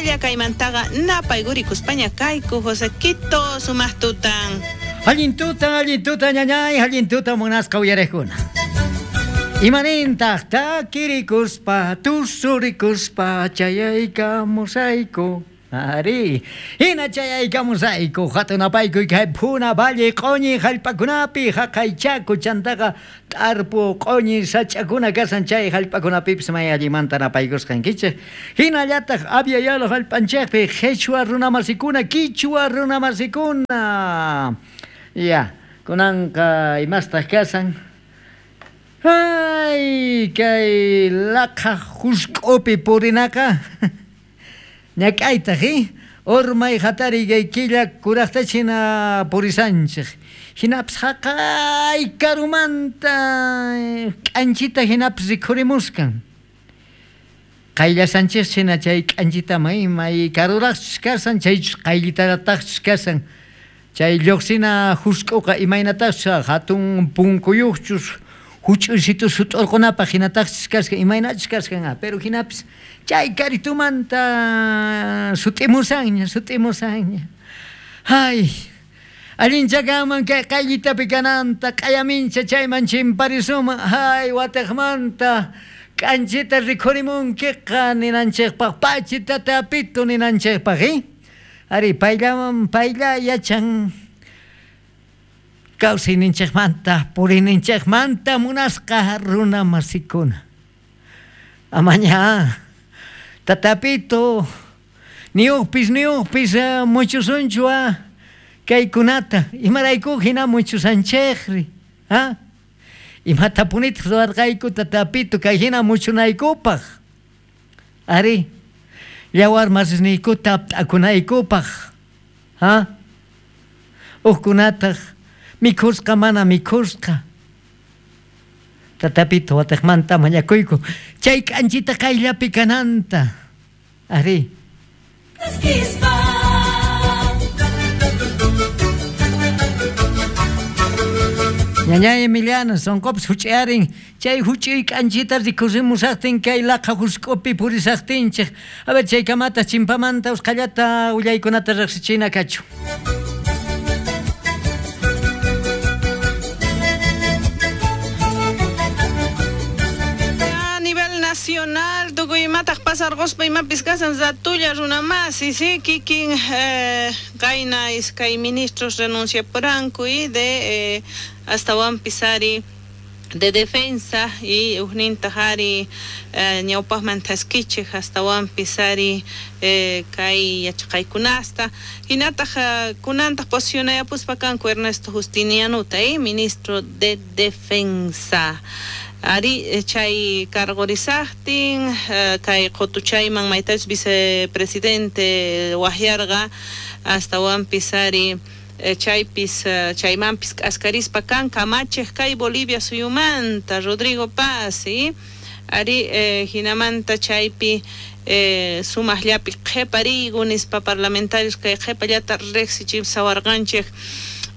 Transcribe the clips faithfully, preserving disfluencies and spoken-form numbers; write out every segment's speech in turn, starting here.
Upalla kaymantaqa napaykuricuspaña kayku Josequito sumaq tutan. Allin tutan, allin tutan, ñañay, allin tutan munasqa uyarejkuna. Imanintaq takirikuspa, tusurikuspa, chayaykamusayku. Ari, hina chayaykamusayku, hatunapayku kay Puna Valle q'uñi hallp'akunapi, haqaychaku chantaqa t'arpu q'uñi sach'akuna kasan chay hallp'akunapipis may allimanta napaykusqankichik. Hinallataq Abya-Yala hallp'anchikpi qhichwa runamasikuna, kichwa runamasikuna. Ya, kunanqa imastaq kasan. Ay, kay laqha husk'upi purinaqa. Ñak'aytaq, eh? Urmay hatari kay killa kuraqtachina purisanchik. Hinapis haqay karumanta k'anchita hinapis rikhurimuskan. Qayllasanchik hina chay k'anchita may may karuraqchus kasan, chaychus qayllitarataqchus kasan. Chay lluqsina husk'uqa imaynataqchus hatun punkuyuqchus huch'uysitu sut'urqunapaq hinataqchus kaskan, imaynachus kaskan, pero hinapis chay karitumanta sut'imusanña, sut'imusanña. Ay, allinchakanman kay qayllitapi kananta, q'ayamincha chayman chimparisuman, ay, wataqmanta k'anchita rikhurimunkiqa ninanchikpaq, pachita tapito ninanchikpaq, eh? Ari, payllaman, paylla yachan kawsayninchikmanta, puriyninchikmanta munasqa runa masikuna. Amaña, tatapito, niuqpis, niuqpis, muchusunchu, kaykunata, imarayku hina muchusanchikri, ha? Imatapunitaq ruwarqayku tatapito, kay hina muchunaykupaq. Ari, yawar masisniykuta apt'akunaykupaq, ha? Uqkunataq mikhusqa mana mikhusqa. Tatapito wataqmanta mañakuyku chay k'anchita qayllapi kananta. Ari. Ñañay Emiliano, sonqopis huch'iarin chay huch'uy k'anchita rikusimusaqtin kay laqha husk'upi purisaqtinchik. A ver, chay kamata chimpamanta usqhallata willaykunata riqsichina kachu. Nacional, tukuy imataq pasarquspa imapis kasan ratulla runamasi, sí, kikin eh, kayna iskay ministros renunciapuranku y de eh, astawanpis ari de defensa y ujnintaq ari eh, ñawpaqman thaskichik astawanpis ari eh, kay yachaqaykunasta hinataq eh, kunantaq posicionayapuspa kanku Ernesto Justinianuta, eh, ministro de defensa. Ari chay cargorizaqtin kay qutuchayman maytachus vicepresidente waqyarqa astawanpis ari chaypis chaymanpis k'askarispa kan kamachiq kay Bolivia suyumanta Rodrigo Paz, ¿sí? Ari eh, hinamanta chaypi eh, sumaqllapi qhiparigu nispa parlamentarios kay qhipallata riqsichimsawarqanchik.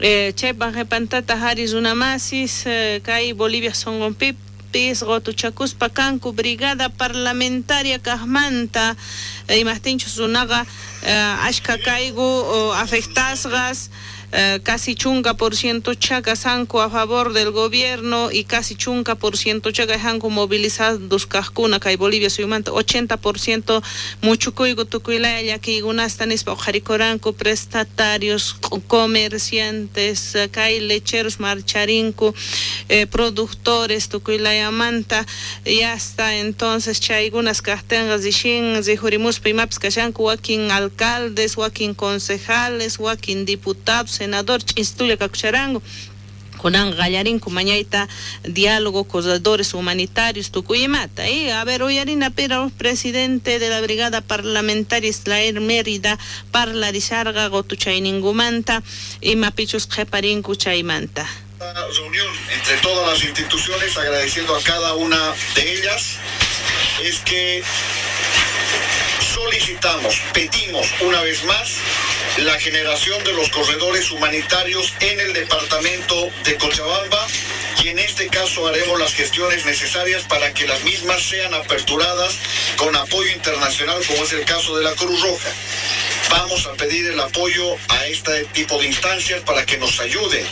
Eh, chaypa qhipantata ari runamasis eh, kay Bolivia sonqonpipis qutuchakuspa kanku brigada parlamentaria kaqmanta imaqtinchus runaqa eh, ashka kayku oh, afectasqas eh, casi chunka por ciento chakasanku a favor del gobierno y casi chunka por ciento chakajanku movilizados kaqkuna kay Bolivia suyumanta ochenta por ciento muchukuyku tukuylaya llakiykunasta nispa uqharikuranku prestatarios, comerciantes, kay lecheros marcharinku, eh, productores tukuylayamanta y hasta entonces chaykunas kaqtinqa rishin rihurimuspa imapis kashanku wakin alcaldes, wakin concejales, wakin diputados, senador ch'istulla kakusharanku. Kunan qallarinku mañayta diálogo, corredores humanitarios, tukuy imata. ¿Eh? A ver, uyarina pero presidente de la brigada parlamentaria Israel Mérida parlarisharqa qutuchayninkumanta imapichus qhiparinku chaymanta. Reunión entre todas las instituciones, agradeciendo a cada una de ellas, es que solicitamos, pedimos una vez más la generación de los corredores humanitarios en el departamento de Cochabamba, Y en este caso haremos las gestiones necesarias para que las mismas sean aperturadas con apoyo internacional, como es el caso de la Cruz Roja. Vamos a pedir el apoyo a este tipo de instancias para que nos ayuden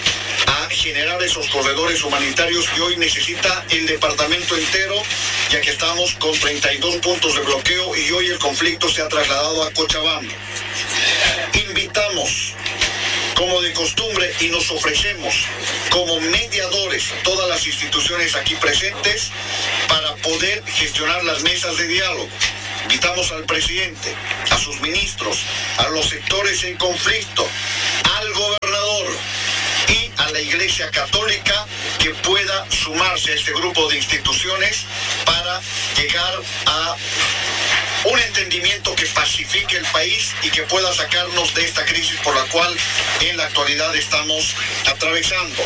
a generar esos corredores humanitarios que hoy necesita el departamento entero, ya que estamos con treinta y dos puntos de bloqueo y hoy el conflicto se ha trasladado a Cochabamba. Invitamos, como de costumbre, y nos ofrecemos como mediadores todas las instituciones aquí presentes para poder gestionar las mesas de diálogo. Invitamos al presidente, a sus ministros, a los sectores en conflicto, al gobernador y a la Iglesia Católica que pueda sumarse a este grupo de instituciones para llegar a un entendimiento que pacifique el país y que pueda sacarnos de esta crisis por la cual en la actualidad estamos atravesando.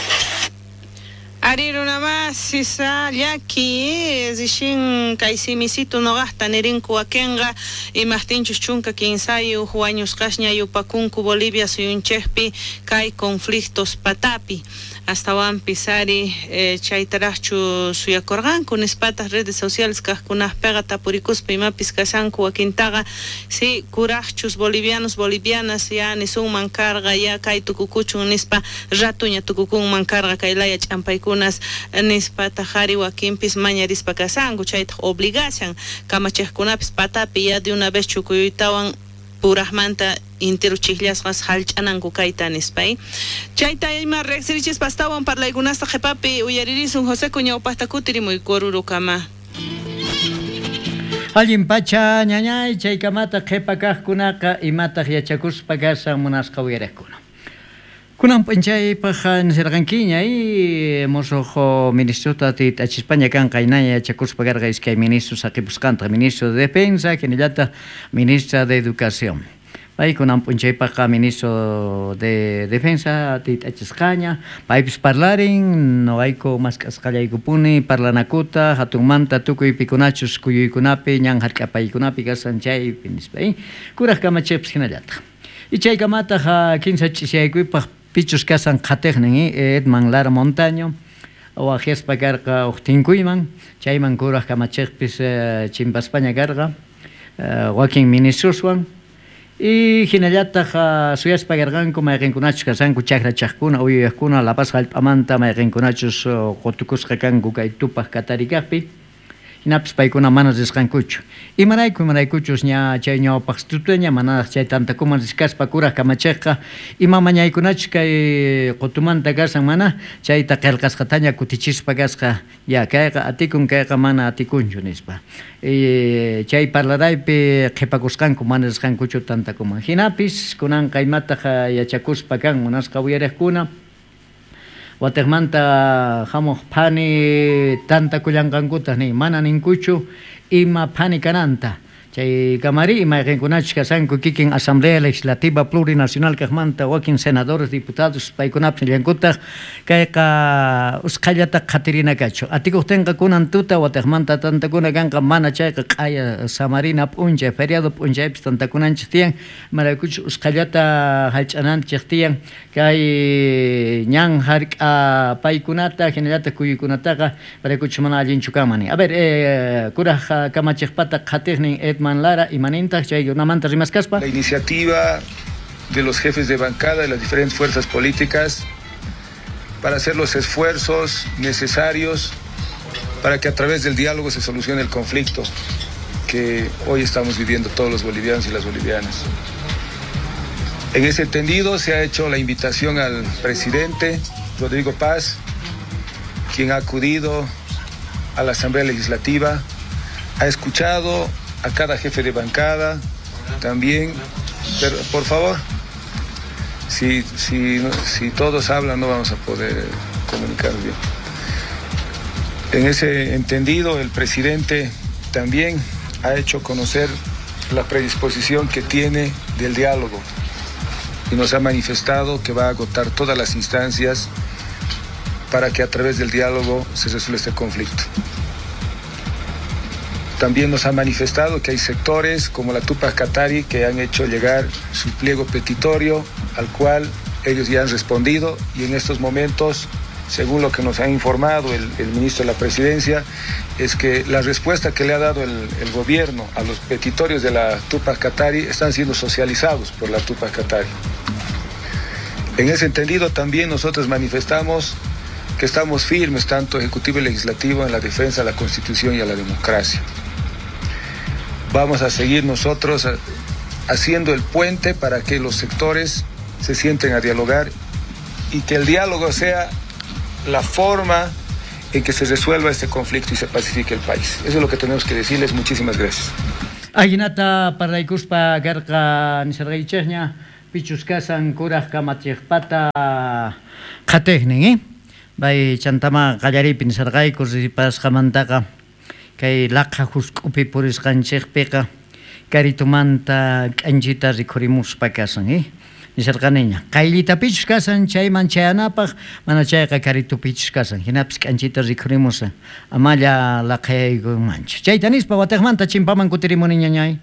Ariruna más isa llaki rishin kay simisitu noqajta nirinku wakinqa imajtinchus chunka kinsayuq wañusqasña yupakunku Bolivia suyunchikpi kay conflictos patapi astawanpis ari eh, chaytaraqchu suyakurqanku nispatas redes sociales kaqkunaqpiqa tapurikuspa imapis kashanku wakintaqa si kuraqchus bolivianos bolivianas ya nisunman karqa ya kay tukukuchun nispa ratuña tukukunman karqa kay laya ch'ampaykunas nispataq ari wakinpis mañarispa kashanku chaytaq obligashan kamachiqkunapis patapi ya de una vez chukuytawan purajmanta intero chijllasqas hallch'ananku kayta nispa. Chayta ima riqsirichispa astawan parlaykunasta qhipapi uyaririsun José ñawpaqta kutirimuy Orurokama. Allin pacha ñañay chaykamata qhipa kaqkunaqa imataq yachakuspa kashan munasqa uyariqkuna. Kunan p'unchaypaq nisirqankiña y musuq ministrota tit'achispaña kanqa inaña yachakuspa karqa iskay ministro saqipusqanta ministro de Defensa hinallataq ministra de Educación. Pay kunan p'unchaypaqqa ministro de Defensa tit'achisqaña paypis parlarin noqayku mask'asqallaykupuni parlanakuta hatunmanta tukuy pikunachus kuyuykunapi ñan hark'apaykunapi kashan chaypi nispa kuraq kamachiqpis hinallataq. Y chaykamataq kinsa ch'isiyaykuypaq pichus kasan qhatiqnin Edman Lara Montaño waqyaspa karqa uq tinkuyman chayman kuraq kamachiqpis chimpaspaña karqa wakin ministroswan y hinallataq suyaspa karqanku mayqinkunachus kashanku chakrachaqkuna uyuyaqkuna La Paz hallp'amanta mayqinkunachus qutukusqa kanku kay tupaq katarikaqpi hinapis paykuna mana risqankuchu imarayku imaraykuchus ña chay ñawpaq tutaña manaraq chay tantakuman riskaspa kuraq kamachiqqa ima mañaykunachus kay qutumanta kashan mana chayta qillqasqataña kutichispa kasqa ya kayqa atikun kayqa mana atikunchu nispa e, chay parlaraypi qhipakusqanku mana risqankuchu tantakuman hinapis kunanqa imataq yachakuspa kan munasqa uyariqkuna Watermanta hamuq phani tantakullanqankutaq nin mana ninkuchu ima phani kananta chay kamari imayqinkunachus kashanku kikin Asamblea Legislativa Plurinacional kaqmanta wakin senadores diputados paykunapis nillankutaq kayqa usqhallata qhatirina kachu atikuqtinqa kunan tuta wataqmanta tantakuna kanqa mana chayqa q'aya samarina p'unchay feriado p'unchaypis tantakunanchik tiyan imaraykuchus usqhallata hallch'ananchik tiyan kay ñan hark'a paykunata hinallataq kuyuykunataqa imaraykuchus mana allinchu kanman. A ver eh, kuraq kamachiqpata qhatiqnin Edman Lara imanintaq chaykunamanta rimaskaspa. La iniciativa de los jefes de bancada de las diferentes fuerzas políticas para hacer los esfuerzos necesarios para que a través del diálogo se solucione el conflicto que hoy estamos viviendo todos los bolivianos y las bolivianas. En ese entendido se ha hecho la invitación al presidente Rodrigo Paz, quien ha acudido a la Asamblea Legislativa, ha escuchado a cada jefe de bancada también, pero por favor, si, si, si todos hablan no vamos a poder comunicar bien. En ese entendido, el presidente también ha hecho conocer la predisposición que tiene del diálogo y nos ha manifestado que va a agotar todas las instancias para que a través del diálogo se resuelva este conflicto. También nos ha manifestado que hay sectores como la Tupac Katari que han hecho llegar su pliego petitorio al cual ellos ya han respondido y en estos momentos Según lo que nos ha informado el, el ministro de la Presidencia, es que la respuesta que le ha dado el, el gobierno a los petitorios de la Tupac Katari están siendo socializados por la Tupac Katari. En ese entendido también nosotros manifestamos que estamos firmes, tanto Ejecutivo y Legislativo, en la defensa de la Constitución y a la democracia. Vamos a seguir nosotros haciendo el puente para que los sectores se sienten a dialogar y que el diálogo sea la forma en que se resuelva este conflicto y se pacifique el país. Eso es lo que tenemos que decirles. Muchísimas gracias. Ajinata parlaykuspa karqa nisarqaychikña pichus kasan kuraj kamachiqpata qhatiqnin, eh? Bay chantama qallariypi nisarqayku ripasqamantaqa kay laqha husk'upi purisqanchikpiqa karitumanta k'anchita rikhurimuspa kasan, eh? Nisarqaniña qayllitapichus kasan chayman chayanapaq mana chayqa karitupichus kasan hinapis k'anchita rikhurimusan amalla laqhayaykunmanchu chayta nispa watiqmanta chimpaman kutirimuniña ñay.